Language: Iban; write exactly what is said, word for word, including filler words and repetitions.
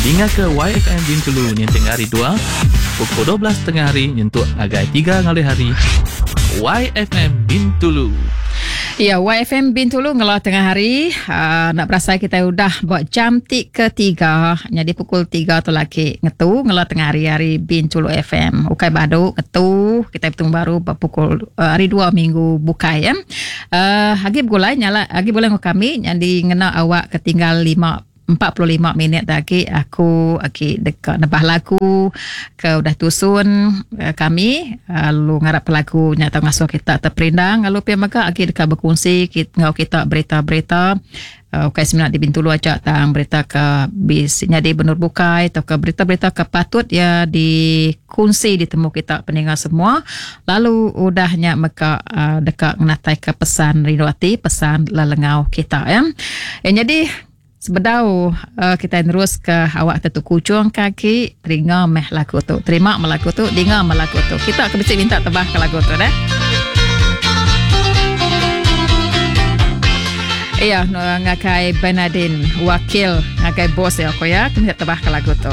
Dinga ke Y F M Bintulu nyentuk hari dua pukul dua belas tengah hari nyentuk ngagai tiga ngalih hari. Y F M Bintulu. Ya, Y F M Bintulu ngelah tengah hari. Uh, nak berasa kita udah buat jam ti ketiga. Jadi pukul tiga tu lagi ngetu ngelah tengah hari hari Bintulu F M. Ukai badu ngetu kita bertemu baru pukul uh, hari dua minggu bukai ya. Uh, lagi bergulai nyala lagi boleh dengan kami jadi ngena awak ketinggal lima empat puluh lima minit lagi aku lagi dekat nebah lagu ke udah tusun uh, kami lalu ngarap lagu nyata ngasuh kita terperindang, lalu pia mega lagi dekat berkongsi kita ngau kita berita-berita uh, ukai seminat di Bintulu aja, tang berita ke bis nyadi benur bukai atau ke berita-berita ke patut ya dikongsi ditemu kita pendengar semua. Lalu udahnya meka uh, dekat ngatai ke pesan rindu ati, pesan lelengau kita ya. Ya, jadi sebedau uh, kita terus ke awak tentu kujung kaki terima meh lagu tu, terima meh lagu tu, dengar meh lagu tu. Kita ke minta tebah ke lagu tu dah. Iya, no, ngakai Bernardine, wakil ngakai bos ya aku ya, kena tebah ke lagu tu.